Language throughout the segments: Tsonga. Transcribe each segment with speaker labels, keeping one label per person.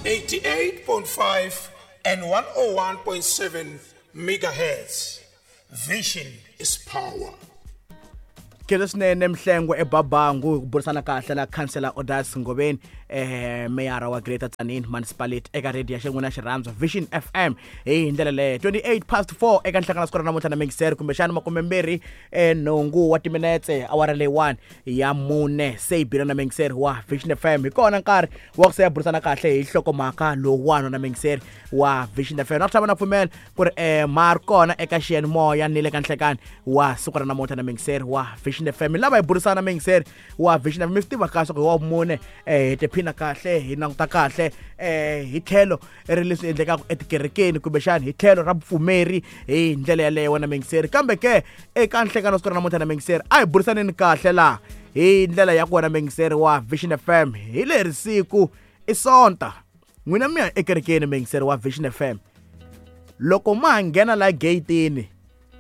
Speaker 1: 88.5 and 101.7 megahertz. Vision is power.
Speaker 2: Khensa swinene Mhlengwe eBabangu hi ku burisana kahle na Councillor Odas Ngobeni, meyara wa Greater Tzaneen Municipality eka radio ya xin'wana xirhandzu Vision FM hi ndlela leyo. 28 past 4 eka nhlangano siku ra namuntlha na mingiseri kumbexana makumembirhi nhungu wa timinetse awara leyiwani ya mune se yi bile na mingiseri wa Vision FM. Hi kona nkarhi wa ku se ya burisana kahle hi nhlokomhaka lowuwani na mingiseri wa Vision FM. Na ku tlhava na pfumela ku ri ma ri kona eka xiyanimoya ni le ka nhlekani wa siku ra namuntlha na mingiseri wa Vision FM. Lava hi burisana na mingiseri wa Vision FM, mi swi tiva kahle ku hi wa mune, hi tiphina kahle, hi languta kahle hi tlhelo ri leswi endlekaka etikerekeni kumbexani hi tlhelo ra vupfumeri hi ndlela yaleyo wena mingiseri. Kambe ke eka nhlekani wa siku ra namuntlha na mingiseri, a hi burisaneni kahle laha hi ndlela ya ku wena mingiseri wa Vision FM. Hi leri siku i Sonta, n'wina mi ya ekerekeni mingiseri wa Vision FM. Loko ma ha nghena la gate-ini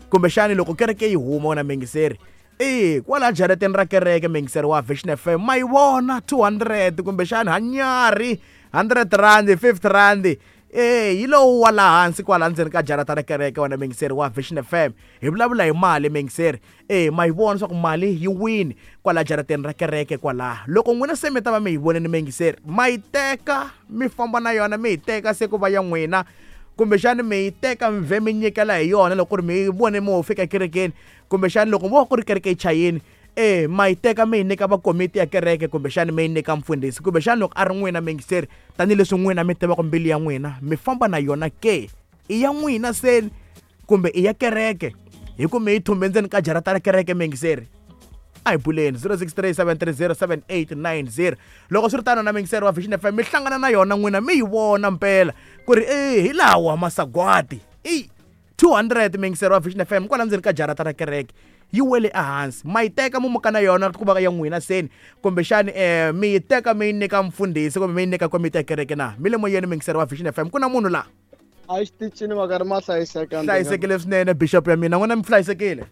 Speaker 2: kumbexani loko kereke yi huma wena mingiseri, e kwala jarateni ra kereke mingiseri wa Vision FM ma yi vona 200 kumbexani hanyari 100 rand 50 rand, yi lowu wa laha hansi kwala ndzeni ka jarata ra kereke wena mingiseri wa Vision FM. Hi vulavula hi mali mingiseri, ma yi vona leswaku mali yi wini kwala jarateni ra kereke kwalaha. Loko n'wina se mi ta va mi yi vonile mingiseri, ma yi teka mi famba na yona, mi yi teka se ku va ya n'wina, kumbexani mi yi teka mi vhe mi nyikela hi yona loko ku ri mi yi vone mi ho fika ekerekeni, kumbexani loko mo va ku ri kereke yi chayini, ma yi teka mi yi nyika va komiti ya kereke, kumbexani mi yi nyika mfundhisi, kumbexani loko a ri n'wina mingiseri, tanihileswi n'wina mi tivaka mbilu ya n'wina, mi famba na yona ke, i ya n'wina seni kumbe i ya kereke, hi ku mi yi thumbe ndzeni ka jarata ra kereke mingiseri. A hi buleni 0637307890. Loko swi ri tano na mingiseri wa Vision FM, mi hlangana na yona n'wina mi yi vona mpela ku ri hi lawa masagwadi i 200 mingiseri wa Vision FM kwala ndzeni ka jarata ra kereke, yi wele ehansi, ma yi teka mi muka na yona ku va ya n'wina seni, kumbexani mi yi teka mi yi nyika mfundhisi kumbe mi yi nyika komiti ya kereke na mi le moyeni mingiseri wa Vision FM. Ku na munhu laha
Speaker 3: a xitichini va karhi ma hlayiseka.
Speaker 2: Hlayisekile swinene bishop ya mina, n'wina mi hlayisekile?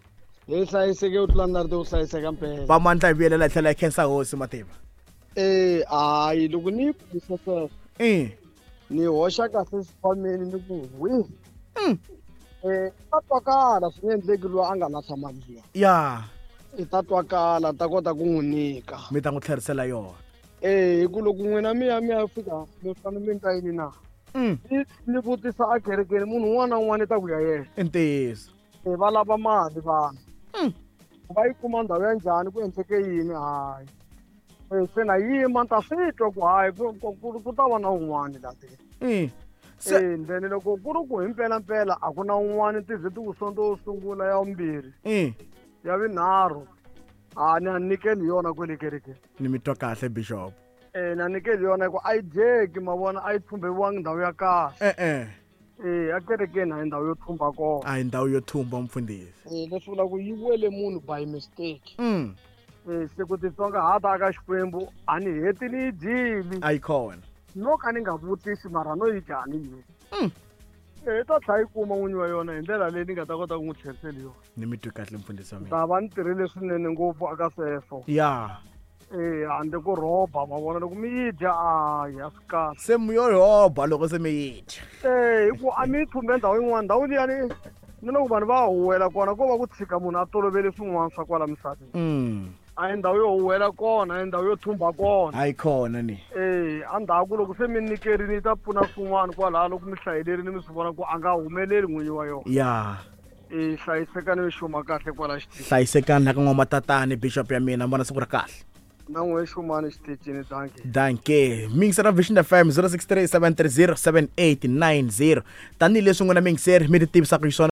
Speaker 3: Hi hlayiseke u tlula ndari u hlayiseka mpela.
Speaker 2: Va mandla hi vuyelela hi tlhela hi khensa hosi mativa.
Speaker 3: Hayi loko ni yi pfisa sweswo ni hoxa kahle xikhwameni ni ku wi. Ta twakala swi nge endleki loyi a nga lahla mali liya.
Speaker 2: Ya.
Speaker 3: I ta twakala ta kota ku n'wi nyika.
Speaker 2: Mi ta n'wi tlherisela yona.
Speaker 3: Hi ku loko n'wina mi ya mi ya fika mi fanele mi ta yini na? Ni vutisa a kerekeni munhu un'wana na un'wana i ta ku ya yena.
Speaker 2: I ntiyiso.
Speaker 3: Va lava mali vanhu. Va yi kuma ndhawu ya njhani ku endleke yini? Hayi. Se na yima ni ta swi twa ku hayi ku ta va na un'wana la teng. Then loko ku ri ku hi mpela mpela a ku na un'wana ti ze ti ku sonto wo sungula ya vumbirhi. Ya vunharhu. A ni a nyikeli yona kwele kerekeni.
Speaker 2: Ni mi twa kahle bishop.
Speaker 3: Na nyikeli yona ku a yi dyeki ma vona a yi thumberiwangi ndhawu ya kahle. A kerekeni a hi ndhawu yo thumba kona.
Speaker 2: A hi ndhawu yo thumba mfundhisi.
Speaker 3: Leswi vulaka ku yi wele munhu by mistake. Se ku titsongahata ka Xikwembu a ni heti ni yi dyile.
Speaker 2: A yi kona.
Speaker 3: No ka ni nga vutisi mara no yi dya ni yi. Ta tlhela yi kuma n'winyi wa yona hi ndlela leyi ni nga ta kota ku n'wi tlherisela yona.
Speaker 2: Ni mi twi kahle mfundhisi wa mina.
Speaker 3: Ta va ni tirhile swinene ngopfu aka sweswo.
Speaker 2: Ya.
Speaker 3: Handle ko rhoba ma vona loko mi yi dya a ya swi kahle.
Speaker 2: Se mi yo rhoba loko se mi yi dya.
Speaker 3: Hi ku a mi yi thumbe ndhawu yin'wana, ndhawu liyani ni loko vanhu va huwela kona ko va ku tshika munhu a tolovele swin'wana swa kwala misaveni. A hi ndhawu yo huwela kona, a hi ndhawu yo thumba kona.
Speaker 2: A yi kona ni.
Speaker 3: Endzhaku loko se mi nyikerini yi ta pfuna swin'wana kwalaho loko mi hlayelerini mi swi vona ku a nga humeleli n'winyi wa yona.
Speaker 2: Ya.
Speaker 3: Hlayisekani mi xuma kahle kwala xitichini.
Speaker 2: Hlayisekani la ka n'wamatatani bishop ya mina, vona siku ra kahle.
Speaker 3: Na n'we xumani xitichini, dankie.
Speaker 2: Dankie. Mingisera Vision FM 0637307890. Tanihileswi n'wina mingiseri mi ti tivisaka xiswona.